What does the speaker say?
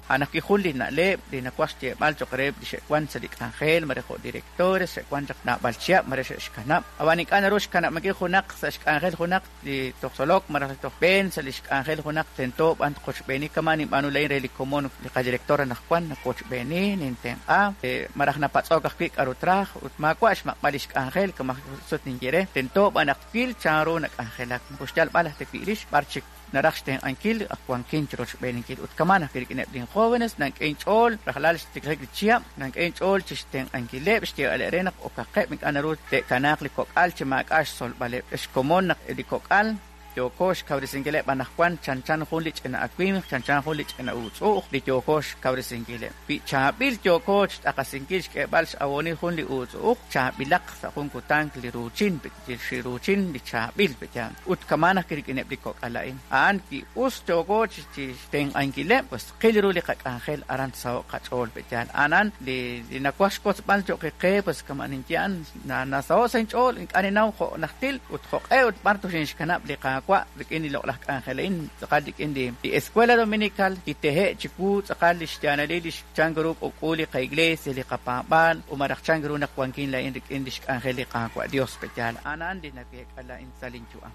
A'an ajwi' jun li na'leb' li nawaj xyeeb'al cho'q reheb' li xe'wan sa' li k'anjel, mare jo' directores, xe'wan chaq naab'al chihab', mare xe'xkanab'. Ab'an ink'a' naru xkanab'ankil junaq sa' xk'anjel junaq li toj tzolok malaj li toj b'een sa' li xk'anjel junaq, tento b'an tqochb'eeni kama' ninb'aanu laa'in re li komon li qadirector anaqwan, nawochb'eeni, nintenq'a, malaj napatz'ok ajwi' k'aru traj ut maawa' xmaq'b'al li xk'anjel kama' sut ninye re, tento b'an naq twil chanru nak'anjelak, moko xyalb'al aj ta wi' rix b'ar chik naraj xtenq'ankil, ak wankin chi rochb'eeninkil. Ut kama'an ajwi' rik'ineb' lin jóvenes, nank'e inch'ool rajlal xtiklajik li chihab', nank'e inch'ool chi xtenq'ankileb', xyeeb'aleb' re naq okaqeb', ink'a' naru te'kanaaq li kok'al chi maak'a' xtzolb'aleb'. Xkomon naq li kok'al yooko xkawresinkileb' anaqwan chanchan jun li ch'ina awimq, chanchan jun li ch'ina uutz'u'uj li yooko xkawresinkileb'. Wi chaab'il yooko xt'aqasinkil xk'eeb'al x'awoonil jun li uutz'u'uj, chaab'ilaq sa' jun kutan li ruuchin, li ruuchin li chaab'il pe'yaal. Ut kama'an ajwi' rik'ineb' li kok'al a'in. A'an wi us yooko chi xtenq'ankileb', pues tqil ru li qak'anjel aran tsaho'q qach'ool pe'yaal. A'an li nawaj xwotzb'al cho'q qe, pues kama'an ninye a'an nasaho' sa' inch'ool, ink'a' ninnaw jo' najtil ut jo'q'e ut b'ar toxinxkanab' li Qaawa' rik'in li loq'laj k'anjel a'in, tz'aqal rik'in li Escuela Dominical kitehe' chiwu tz'aqal li xyaalalil li chank ru k'uk'u li qaiglesia, li qapaab'aal, ut malaj chank ru naq wankin laa'in rik'in li xk'anjel li Qaawa' Dios pe'yaal. A'an li naweek'a laa'in sa' linyu'am.